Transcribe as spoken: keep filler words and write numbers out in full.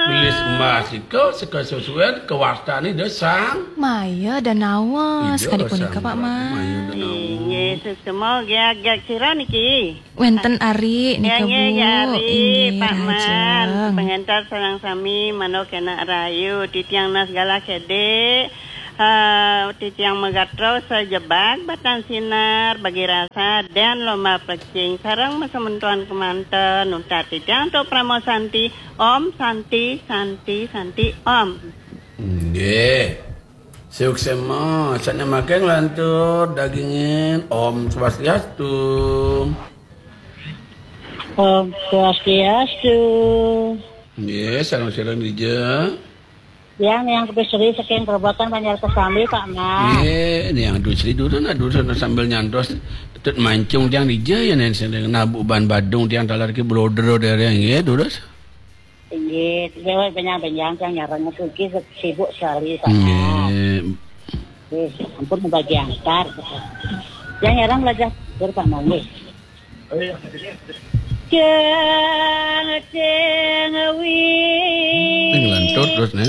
Gelis emas nika seka sesuai kewastane da sang. Maya da nawa. Ida sakadi punika, sang Pak Mas. Maya da nawa. Inggih, suksma. Nggih, agak sira niki. Wenten ari nika, nggih, Bu. Nggih, ari, inggih, Pak Mas. Lajeng. Pengantar sareng sami manuk enak rayu, titiang nas galah kedik. Eh, titiang megatro sejebak batan sinar bagi rasa dan lomba plecing sareng masementuan kemanten. Untat titiang untuk Pramo Santi, Om Santi, Santi, Santi, Om. Nggih. Suksma, sané makin lantur dagingin. Om Swastiastu. Om Swastiastu. Nggih, sareng-sareng dija. Yang yang kepisri saking Grobogan Banjar Kesambi, Pak Mas. Nggih, yang dusri dulu nah dulu sambil nyantos. Tut mancung tiang dija ya nen sing nabu ban badung tiang talar ki blodro dereng nggih, durus. Inggih, dewe benjang-benjang tiang nyarang niki sibuk sekali, Pak Mas. Nggih. Nggih, ampun bagi antar. Yang nyarang belajar tidur, Pak Mas, nggih. Ceng, ceng, wi. Sing lantur terus, Nek.